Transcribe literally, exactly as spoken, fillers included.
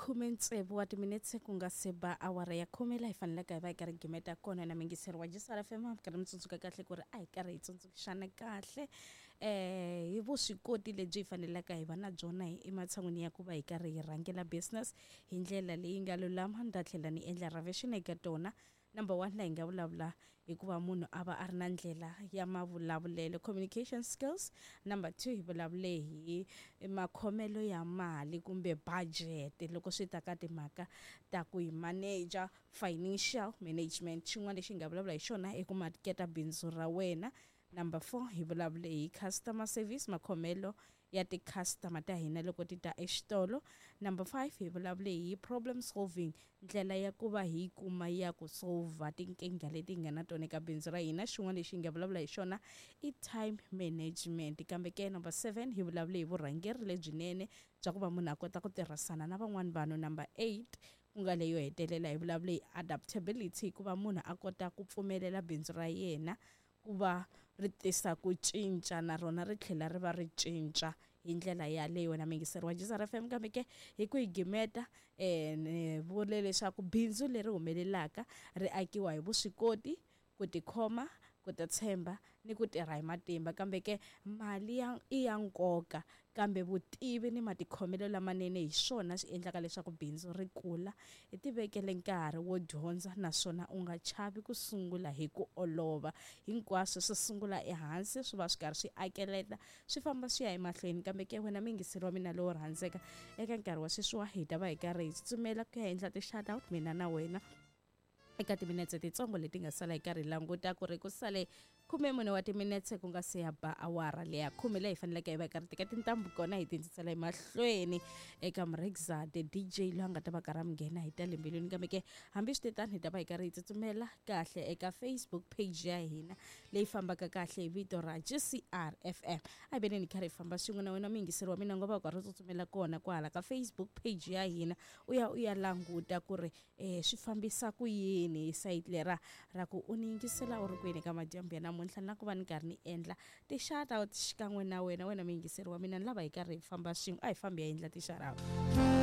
Khume tsevu wa timinetse ku nga se ba awara ya khume, laha hi faneleke hi va hi karhi gimeta kona na mingiseri wa G C R F M. Mi karhi mi tsundzuka kahle ku ri a hi karhi hi tsundzuxana kahle eh hi vuswikoti lebyi hi faneleke hi va na byona ematshan'wini ya ku va hi karhi hi rhangela business hi ndlela leyi nga lulama. Ni ta tlhela ni endla revision eka tona. Number one, laha hi nga vulavula hikuva munhu a va a ri na ndlela ya mavulavulelo, communication skills. Number two, hi vulavule hi makhomelo ya mali kumbe budget loko swi ta ka timhaka ta ku hi manager, financial management. Xin'wana lexi hi nga vulavula hi xona i ku maketa bindzu ra wena. Number four, hi vulavule hi customer service, makhomelo ya ti-customer ta hina loko ti ta exitolo. Number five, hi vulavule hi problem solving, ndlela ya ku va hi kuma ya ku solver tinkingha leti hi nga na tona eka bindzu ra hina. Xin'wana lexi hi nga vulavula hi xona i time management. Kambe ke number seven, hi vulavule hi vurhangeri lebyinene bya ku va munhu a kota ku tirhisana na van'wani vanhu. Number eight, ku nga leyo hetelela, hi vulavule hi adaptability, ku va munhu a kota ku pfumelela bindzu ra yena ku va ri tisa ku cinca na rona ri tlhela ri va ri cinca hi ndlela yaleyo, wena mingiseri wa G C R F M. Kambe ke hi ku hi gimeta, um ni vule leswaku bindzu leri humelelaka ri akiwa hi vuswikoti, ku tikhoma, ku titshemba ni ku tirha hi matimba. Kambe ke mali ya i ya nkoka, kambe vutivi ni matikhomelo lamanene hi swona swi endlaka leswaku bindzu ri kula. Hi tivekele nkarhi wo dyondza, naswona u nga chavi ku sungula hi ku olova. Hinkwaswo swi sungula ehansi, swi va swi karhi swi akeleta, swi famba swi ya emahlweni. Kambe ke wena muyingiseri wa mina lowo rhandzeka, eka nkarhi wa sweswiwa hi ta va hi karhi hi tsutsumela ku ya endla ti-shout out mina na wena eka timinetse titsongo leti nga sala. Hi karhi hi languta ku ri ku sale khume mune wa timinetse ku nga se ya ba awara leya khume, leyi hi faneleke hi va hi karhi teka tintambu kona hi tindzisela emahlweni eka Mrexa the D J, loyi a nga ta va karhi a mi nghena hi ta le mbilwini. Kambe ke hambi swi tetano, hi ta va hi karhi hi tsutsumela kahle eka Facebook page ya hina leyi fambaka kahle hi vito ra G C R F M. A hi veneni hi karhi hi famba swin'we na wena muyingiseri wa mina, ngo va u karhi u tsutsumela kona kwahala ka Facebook page ya hina, u ya u ya languta ku ri um swi fambisa ku yini hi sayiti lera ra ku u ni yingisela u ri kwini ka madyambu ya namuntlha, na ku va ni karhi ni endla ti-shout out xikan'we na wena, wena muyingiseri wa mina. Ni lava hi karhi hi famba swin'we. A hi fambi ya endla ti-shout out.